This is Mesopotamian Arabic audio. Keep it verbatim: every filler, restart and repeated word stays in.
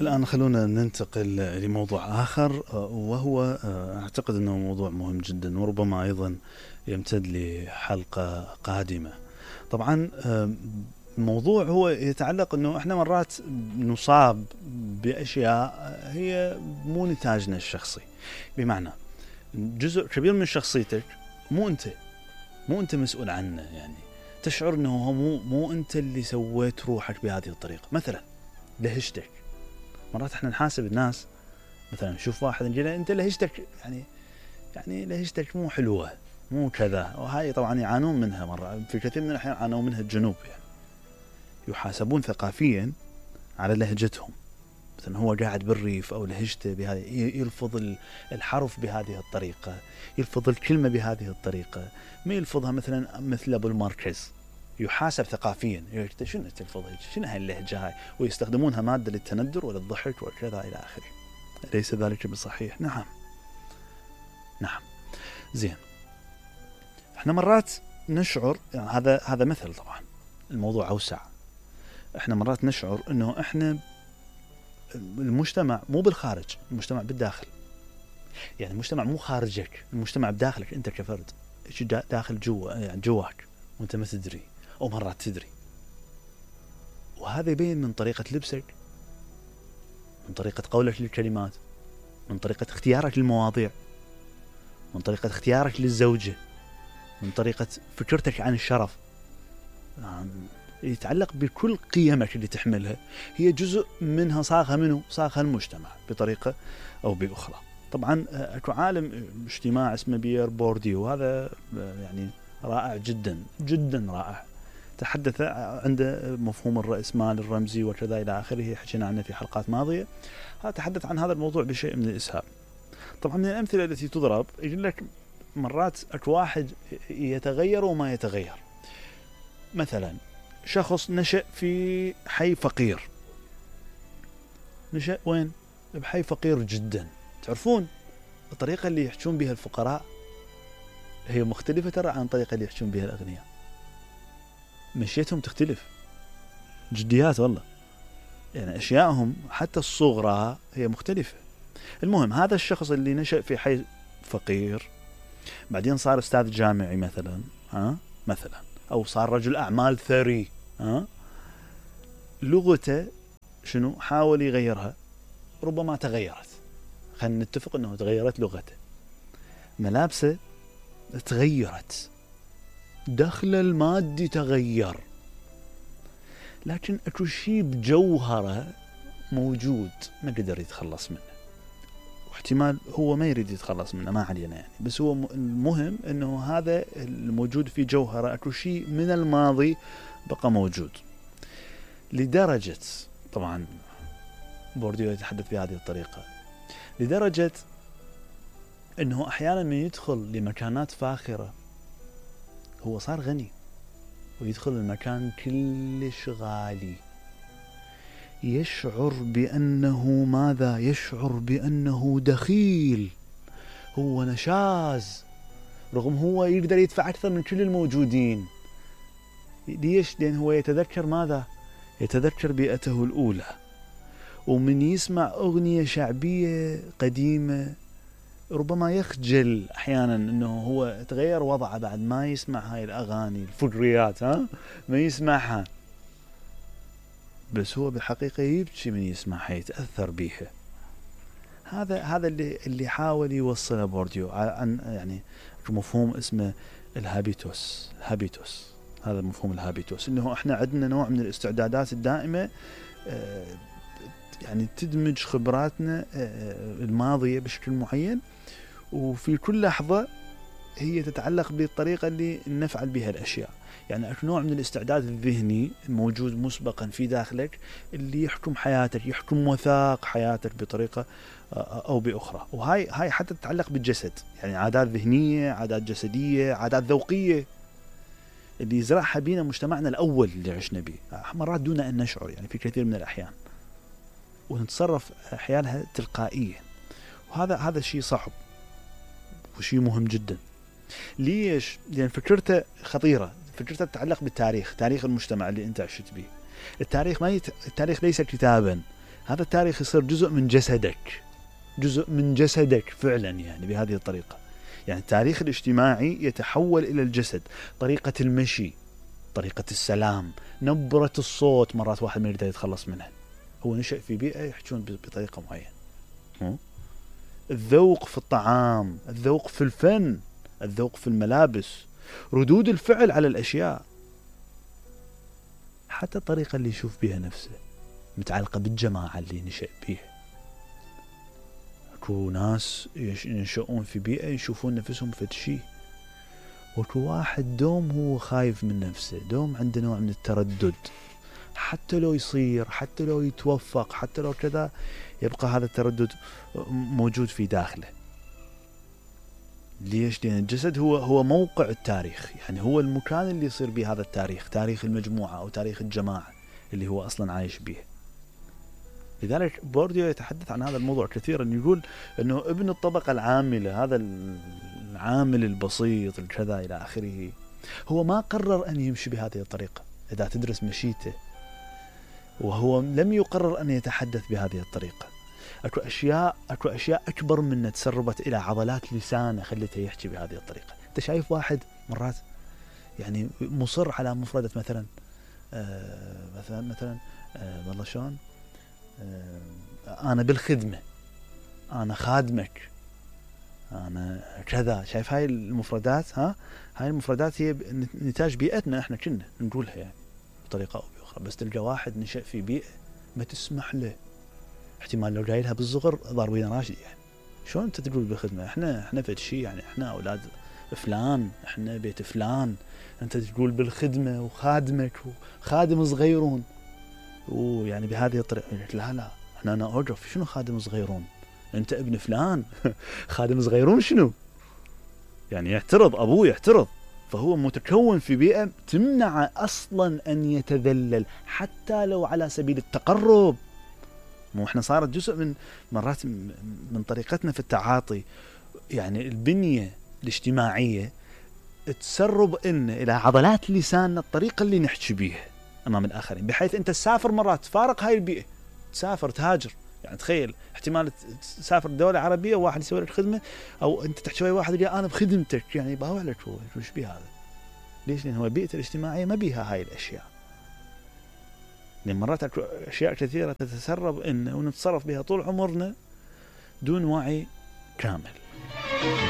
الآن خلونا ننتقل لموضوع آخر، وهو أعتقد أنه موضوع مهم جدا وربما أيضا يمتد لحلقة قادمة. طبعا الموضوع هو يتعلق أنه إحنا مرات نصاب بأشياء هي مو نتاجنا الشخصي، بمعنى جزء كبير من شخصيتك مو أنت مو أنت مسؤول عنه، يعني تشعر أنه مو مو أنت اللي سويت روحك بهذه الطريقة. مثلا لهجتك، مرات احنا نحاسب الناس، مثلا نشوف واحد نقول له انت لهجتك يعني يعني لهجتك مو حلوه مو كذا، وهاي طبعا يعانون منها مرة في كثير من الأحيان، يعانون منها الجنوب، يعني يحاسبون ثقافيا على لهجتهم. مثلا هو قاعد بالريف او لهجته بهذه، يلفظ الحرف بهذه الطريقة، يلفظ الكلمة بهذه الطريقة، ما يلفظها مثلا مثل ابو المركز، يحاسب ثقافيا. يقول شنو تلفظ شنو هاي اللهجة هاي، ويستخدمونها مادة للتندر وللضحك وكذا إلى آخره. ليس ذلك بصحيح. نعم نعم زين. احنا مرات نشعر، يعني هذا هذا مثل، طبعا الموضوع أوسع. احنا مرات نشعر انه احنا المجتمع مو بالخارج، المجتمع بالداخل. يعني المجتمع مو خارجك، المجتمع بداخلك انت كفرد، ايش داخل جوا يعني جواك وانت ما تدري، او مرات تدري. وهذا يبين من طريقة لبسك، من طريقة قولك للكلمات، من طريقة اختيارك للمواضيع، من طريقة اختيارك للزوجة، من طريقة فكرتك عن الشرف. يعني يتعلق بكل قيمك اللي تحملها، هي جزء منها صاغها منه صاغها المجتمع بطريقة أو بأخرى. طبعا أكو عالم اجتماع اسمه بيير بورديو، وهذا يعني رائع جدا جدا رائع. تحدث عنده مفهوم الرأسمال الرمزي وكذا إلى آخره، حكينا عنه في حلقات ماضية. هذا تحدث عن هذا الموضوع بشيء من الإسهاب. طبعا من الأمثلة التي تضرب يقول لك مرات أكو واحد يتغير وما يتغير. مثلا شخص نشأ في حي فقير، نشأ وين؟ بحي فقير جدا. تعرفون الطريقة اللي يحجون بها الفقراء هي مختلفة ترى عن الطريقة اللي يحجون بها الأغنياء. مشيتهم تختلف جديات والله، يعني أشياءهم حتى الصغرى هي مختلفة. المهم هذا الشخص اللي نشأ في حي فقير بعدين صار أستاذ جامعي مثلا، ها مثلا، أو صار رجل أعمال ثري، ها لغته شنو حاول يغيرها، ربما تغيرت، خلينا نتفق أنه تغيرت لغته. ملابسه تغيرت، دخل المادي تغير، لكن أكو شيء بجوهره موجود ما قدر يتخلص منه، واحتمال هو ما يريد يتخلص منه، ما علينا يعني. بس هو المهم أنه هذا الموجود في جوهره أكو شيء من الماضي بقى موجود، لدرجة طبعا بورديو يتحدث بهذه الطريقة، لدرجة أنه أحيانا من يدخل لمكانات فاخرة هو صار غني ويدخل المكان كلش غالي، يشعر بأنه ماذا؟ يشعر بأنه دخيل، هو نشاز، رغم هو يقدر يدفع أكثر من كل الموجودين. ليش؟ لأن هو يتذكر ماذا؟ يتذكر بيئته الأولى. ومن يسمع أغنية شعبية قديمة ربما يخجل أحيانا أنه هو تغير وضعه بعد ما يسمع هاي الأغاني الفقريات، ها ما يسمعها، بس هو بالحقيقة يبكي من يسمعها، يتأثر بيها. هذا هذا اللي اللي حاول يوصله بورديو عن يعني مفهوم اسمه الهابيتوس. هابيتوس هذا مفهوم الهابيتوس، إنه إحنا عندنا نوع من الاستعدادات الدائمة، يعني تدمج خبراتنا الماضية بشكل معين، وفي كل لحظة هي تتعلق بالطريقة اللي نفعل بها الأشياء. يعني أكو نوع من الاستعداد الذهني موجود مسبقا في داخلك اللي يحكم حياتك، يحكم وثاق حياتك بطريقة أو بأخرى. وهاي هاي حتى تتعلق بالجسد، يعني عادات ذهنية، عادات جسدية، عادات ذوقية اللي يزرعها بينا مجتمعنا الأول اللي عشنا به مرات دون أن نشعر، يعني في كثير من الأحيان، ونتصرف أحيانها تلقائيا. وهذا هذا شيء صعب وشيء مهم جدا. ليش؟ لأن فكرته خطيرة، فكرته تتعلق بالتاريخ، تاريخ المجتمع اللي أنت عشت به. التاريخ ما يت... التاريخ ليس كتابا، هذا التاريخ يصير جزء من جسدك، جزء من جسدك فعلا، يعني بهذه الطريقة. يعني التاريخ الاجتماعي يتحول إلى الجسد، طريقة المشي، طريقة السلام، نبرة الصوت. مرات واحد ما يقدر يتخلص منها، هو نشأ في بيئة يحجون بطريقة معينة. الذوق في الطعام، الذوق في الفن، الذوق في الملابس، ردود الفعل على الأشياء، حتى الطريقة اللي يشوف بها نفسه متعلقة بالجماعة اللي نشأ بيها. اكو ناس ينشؤون في بيئة يشوفون نفسهم فد شيء، واكو واحد دوم هو خايف من نفسه، دوم عنده نوع من التردد، حتى لو يصير، حتى لو يتوفق، حتى لو كذا، يبقى هذا التردد موجود في داخله. ليش؟ لأن الجسد هو هو موقع التاريخ، يعني هو المكان اللي يصير به هذا التاريخ، تاريخ المجموعة أو تاريخ الجماعة اللي هو أصلا عايش به. لذلك بورديو يتحدث عن هذا الموضوع كثيرا، يقول أنه ابن الطبقة العاملة، هذا العامل البسيط الكذا إلى آخره، هو ما قرر أن يمشي بهذه الطريقة. إذا تدرس مشيته، وهو لم يقرر أن يتحدث بهذه الطريقة. أكو أشياء أكو أشياء أكبر منه تسربت إلى عضلات لسانه خلته يحكي بهذه الطريقة. أنت شايف واحد مرات يعني مصر على مفردة مثلا آه مثلا مثلا آه والله شلون آه أنا بالخدمة، أنا خادمك، أنا كذا. شايف هاي المفردات؟ ها هاي المفردات هي نتاج بيئتنا، إحنا كنا نقولها يعني بطريقة أو بأخرى. بس تلقى واحد نشأ في بيئة ما تسمح له، احتمال لو جايلها بالصغر ضاربين راشد. يعني شلون انت تقول بالخدمة؟ احنا احنا فد شيء، يعني احنا اولاد فلان، احنا بيت فلان، انت تقول بالخدمة وخادمك وخادم صغيرون، ويعني بهذه الطريقة. لا لا احنا انا اوقف، شنو خادم صغيرون؟ انت ابن فلان خادم صغيرون شنو؟ يعني يعترض ابوه، يعترض. فهو متكون في بيئة تمنع اصلا ان يتذلل، حتى لو على سبيل التقرب. مو احنا صارت جزء من مرات من طريقتنا في التعاطي، يعني البنية الاجتماعية تسرب إن إلى عضلات لساننا الطريقة اللي نحكي بيها أمام الآخرين، بحيث أنت تسافر مرات تفارق هاي البيئة، تسافر تهاجر. يعني تخيل احتمال تسافر دولة عربية وواحد يسوي لك خدمة، أو أنت تحكي ويا واحد يقول أنا بخدمتك، يعني باوع لك هو وش بيه هذا؟ ليش؟ لأن هو البيئة الاجتماعية ما بيها هاي الأشياء. لأن مرات أشياء كثيرة تتسرب إن ونتصرف بها طول عمرنا دون وعي كامل.